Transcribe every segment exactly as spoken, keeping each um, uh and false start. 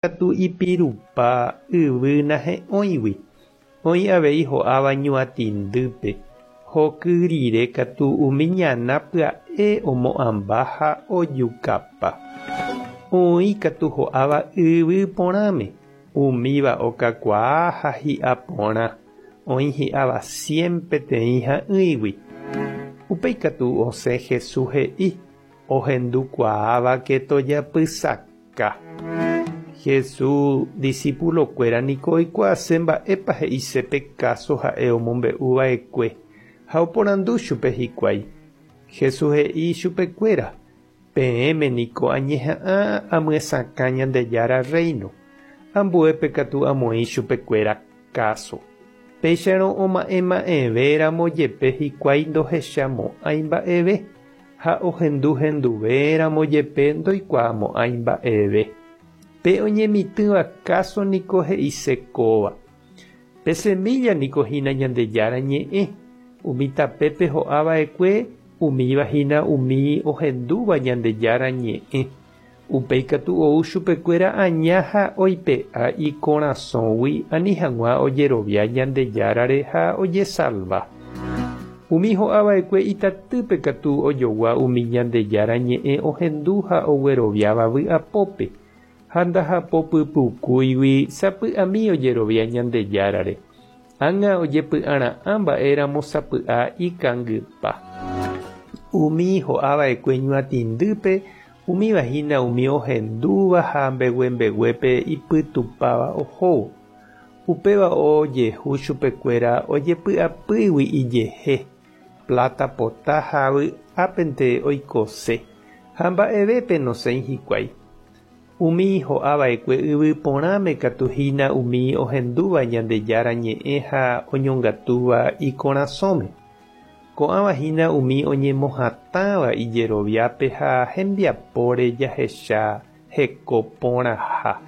Katu ipirupa yvy nahe'õigui. Oĩ avei ho'áva ñuatĩndýpe, hoky rire katu umi ñana pya'e omo'ãmba ha ojukapa. Oĩ katu ho'áva yvy porãme, umíva okakuaa ha hi'a porã, oĩ hi'áva cien peteĩ ha'ỹigui. Upéi katu osẽ Jesús he'i ohendukuaávake tojapysaka. Jesús discipulokuéra niko oikuaase mba'épa he'ise pe káso ha'e omombe'uva'ekue ha oporandu chupe hikuái. Jesús he'i chupekuéra: Peẽme niko añeha'ã amyesakã Ñandejára Reino, ambuépe katu amoĩ chupekuéra káso. Péicharõ oma'ẽma'ẽvéramo jepe hikuái ndohechamo'ãi mba'eve ha ohenduhenduvéramo jepe ndoikuaamo'ãi mba'eve. Pe oñemitỹva káso niko he'ise kóva. Pe semilla niko hína Ñandejára ñe'ẽ, umi tapépe ho'ava'ekue umíva hína umi ohendúva Ñandejára ñe'ẽ. Upéi katu ou chupekuéra aña ha oipe'a ikorasõgui ani hag̃ua ojerovia Ñandejárare ha ojesalva. Umi ho'ava'ekue itatýpe katu ojogua umi Ñandejára ñe'ẽ ohendu ha ogueroviáva vy'apópe ha ndahapopypukúigui sapy'ami ojerovia Ñandejárare. Ág̃a ojepy'ara'ã mba'éramo sapy'a ikangypa. Umi ho'ava'ekue ñuatĩndýpe umíva hína umi ohendúva ha mbeguembeguépe ipytupáva ohóvo. Upéva ojehu chupekuéra ojepy'apýgui ijehe, plata pota ha vy'ápente oikose ha mba'evépe nosẽi hikuái. Umi ho'ava'ekue yvy porãme katu hína umi ohendúva Ñandejára ñe'ẽ ha oñongatúva ikorasõme. Ko'ãva hína umi oñemohatãva ijeroviápe ha hembiapóre jahecha heko porãha.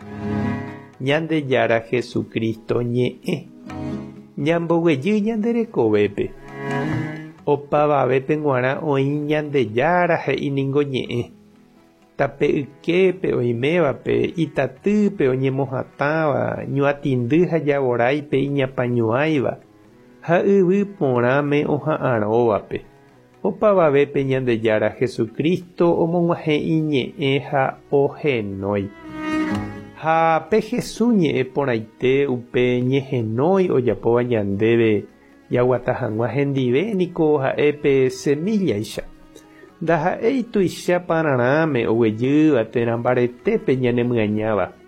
Ñandejára Jesucristo ñe'ẽ. Ñamboguejy ñande rekovépe. Opavavépe g̃uarã oĩ Ñandejára he'i ningo ñe'ẽ. Tape yképe oimévape, itatýpe oñemohatãva, ñuatĩndy ha javoráipe iñapañuãiva ha yvy porãme oha'ãróvape. Opavavépe Ñandejára Jesucristo omog̃uahẽ iñe'ẽ ha ohenói. Ha pe Jesús ñe'ẽ porãite upe ñehenói ojapóva ñandéve jaguata hag̃ua hendive niko ha'e pe semillaicha. Ndaha'éi tuicha pararãme oguejýva térã mbaretépe ñanemyañáva.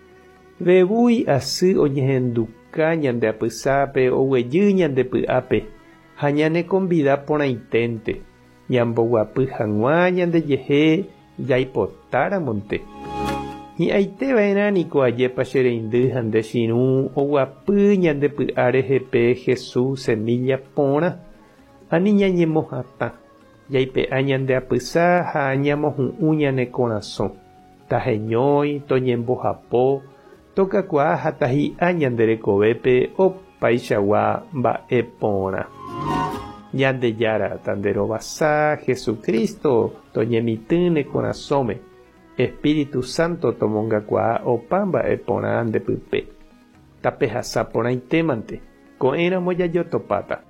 Vevúi asy oñehenduka ñande apysápe oguejy ñande py'ápe ha ñanekombida porãiténte ñamboguapy hag̃ua ñandejehe jaipotáramonte. Hi'ãiteva'erã niko ajépa che reindy ha nde chirũ oguapy ñande py'a rehe pe Jesús semilla porã ani ñañemohatã jaipe'a ñande apysa ha ñamohu'ũ ñane korasõ. Taheñói, toñembohapo, tokakuaa ha tahi'a ñande rekovépe opaichagua mba'e porã. Ñandejára tanderovasa Jesucristo toñemitỹ ne korasõme, Espíritu Santo tomongakuaa opa mba'e porã ndepype. Tapehasa porãitémante, ko'ẽramo jajotopáta.